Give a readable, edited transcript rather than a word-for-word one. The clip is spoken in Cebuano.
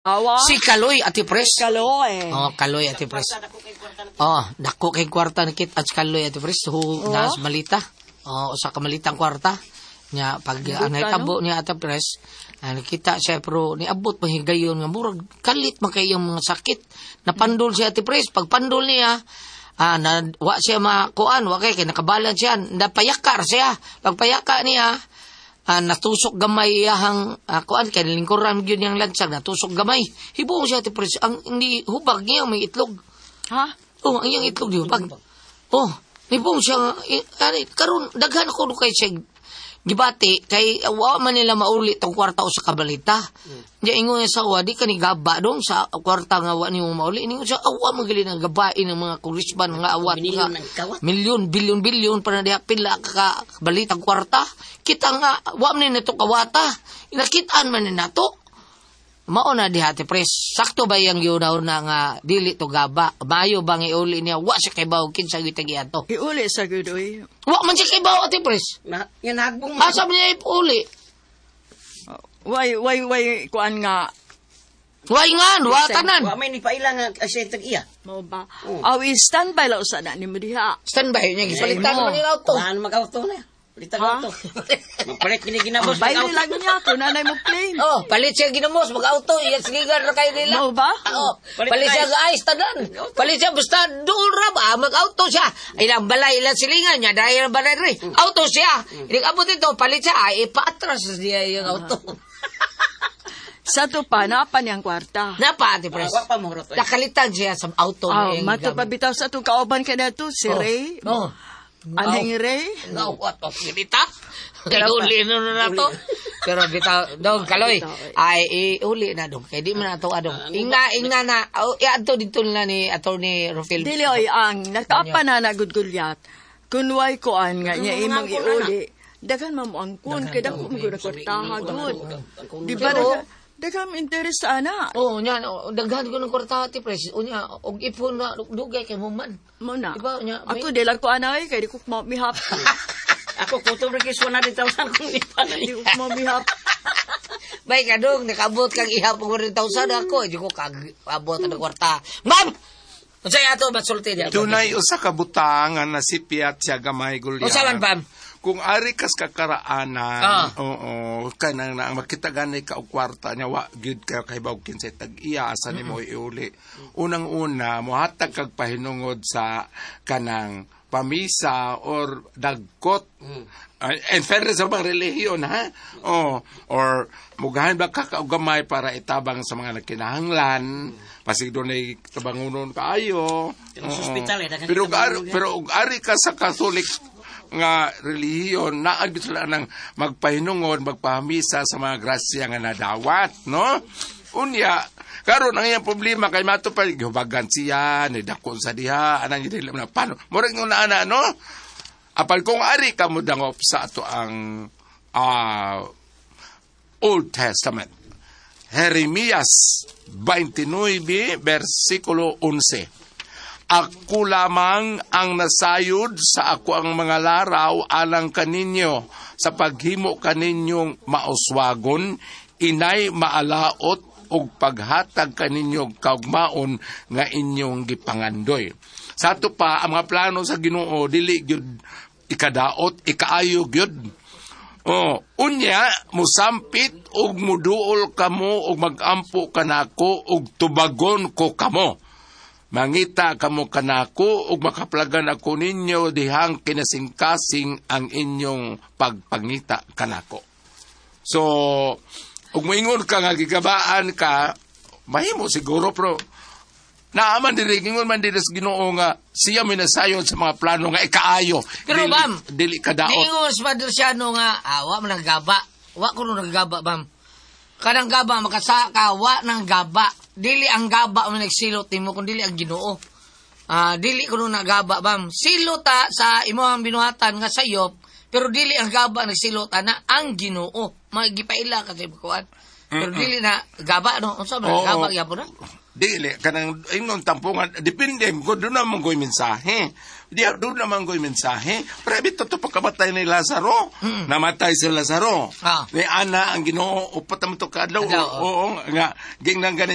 Awa. Si Kaloy, Ate Pres. Kaloy. Oh, Kaloy, Ate Pres. Oh, dako kay kwarta ni Kit at si Kaloy, Ate Pres. Hu, nas malita. Oh, usa ka malitang kwarta. Nya pag ang nahitabo niya, Ate Pres, nakita siya pero niabot mahigayon nga murag kalit man kay iyang mga sakit. Napandol siya, Ate Pres. Pag pandol niya, na, wa siya makuan, wa kay nakabalan siya, napayakar siya. Pagpayaka niya, natusok gamay iyahang kuan kay lingkuran gyud niyang lansang, natusok gamay. Hibuong siya, Ate Pres, ang hindi hubag niya may itlog. Ha? Oh, ang iyang itlog di hubag. Oh, nibong siya ani karon daghan ko kay siya gibati kay wa man nila mauli tong kwarta o sa kabalita. Diya ingon niya sa wa di ka ni gaba dong sa kwarta nga wa nimo mauli. Ingon siya awa man gali nang gabain ng mga congressman nga awat nga milyon, bilyon, bilyon para na diha pila ka balitang kwarta. Kita nga wa man ni nato kawata. Inakitaan man ni nato. Mao na diha, Ate Pres. Sakto ba yang yunaw na nga dili to gaba? Mayo bang iuli niya? Wa siya kay bawo kinsa gyud ato. Iuli sa gud oy. Wa man siya kay bawo, Ate Pres. Na, yan hagbong. Asa man niya iuli? Way way way kuan nga. Way nga, wa tanan. Wa may ni paila nga siya tag iya. Mao ba? Aw, i-standby lang usa na nimo diha. Standby niya gipalitan man nila auto. Kuhaan mag-auto na. Palitan auto. Magpalit kini ginabos Bay mag-auto. lang niya kung nanay mo claim. Oh, palit siya ginamos mag-auto, iya siligan ra kayo nila. Mao ba? Oh, Palit palit siya ice. sa ice tanan. Palit siya basta doon ra ba mag-auto siya. Ilang balay ilang silingan niya dahil ang balay rin. Auto siya. Ilang abot ito, palit siya ay ipaatras niya yung auto. Sa to pa napa niyang kwarta. Napa, Ate Pres. Wa pa mo rot. Nakalitan siya sa auto Aw, niya. mato pa bitaw sa itong kauban ka na to, si Ray. Oh. Anhing Ray. Nawat o kilita. Uli na na to. Pero bitaw, dong, Kaloy, ay, iuli na dong. Kaya di man na ito, adong. Ingna, ingna na. Oh, iadto dito na ni Attorney Rufil. Dili oy ang nakaapa na na gud gulyat. Kunway kuan nga niya imong iuli. Daghan man mo ang kun kay dako mo gud kwartaha gud. Di ba daghan interest ana? Oo, nya, oh, daghan ko ng kwarta, Ate Pres. Unya, og ipon na, dugay kay mo man. Mo na. Di ba, unya, may- Ako di lang ko ana oy kay di ko mo mihap. Ako kutob ra kay 100,000 kung di pa na. Di ko mo mihap. Bay ka dong, nakaabot kang ihap og 100,000 ako. Di ko kag-abot ang kwarta. Ma'am! Unsay ato masulti niya? Dunay usa ka butang nga nasipyat siya gamay gulyan. Unsa man, Pam? Kung ari kas kakaraanan, oo, kanang na makita gani ka og kwarta niya wa gyud kayo kahibaw kinsay tag-iya asa nimo iuli. Unang-una mohatag kag pahinungod sa kanang pamisa or dagkot. In fairness sa mga relihiyon, ha? Oh, or mugahan ba ka og gamay para itabang sa mga nagkinahanglan? Pasig dunay tabangunon kaayo. Pero sa ospital, eh, daghan Pero tabangunon yan. pero og ari ka sa Catholic nga relihiyon, naa gyud sila nang magpahinungod, magpahamisa sa mga grasya nga nadawat, no? Unya, karon ang iyang problema kay mato pa gihubagan siya, ni dakon sa diha, anang dili na paano. Murag nga ana, no? Apal kung ari ka mo dangop sa ato ang Old Testament. Jeremias 29 versikulo 11. Ako lamang ang nasayod sa ako ang mga laraw alang kaninyo sa paghimo kaninyong mauswagon, inay maalaot og paghatag kaninyong kaugmaon nga inyong gipangandoy. Sa ato pa, ang mga plano sa Ginoo dili gyud ikadaot, ikaayo gyud. Oh, unya musampit og muduol kamo og magampo kanako og tubagon ko kamo. Mangita kamo kanako ug makaplagan ako ninyo dihang kinasingkasing ang inyong pagpangita kanako. So, ug moingon ka nga gigabaan ka, mahimo siguro pero naaman diri ingon man diri sa Ginoo nga siya may nasayon sa mga plano nga ikaayo. Pero, dili, ma'am, dili kadaot. Niingon sa Padre Siano nga, wa man nagaba. Wa ko nung nagaba, ma'am. Kanang gaba, makasaka, wa nang gaba. Dili ang gaba man nagsilot nimo kun dili ang Ginoo. Dili ko nung nagaba, ma'am. Silot ta sa imong binuhatan nga sayop, pero dili ang gaba nagsilot ana ang Ginoo. Magipaila ka sa kuan. Pero dili na gaba no. Unsa man Oo. gaba gyapon na? Dili kanang ingnon tampungan, depende ko doon naman ko'y mensahe. Di doon naman ko'y mensahe. Pero bito to pagkamatay ni Lazaro. Namatay si Lazaro. Ni ana ang Ginoo 4 man to kaadlaw. Adlaw, Oo, nga gingnan gani.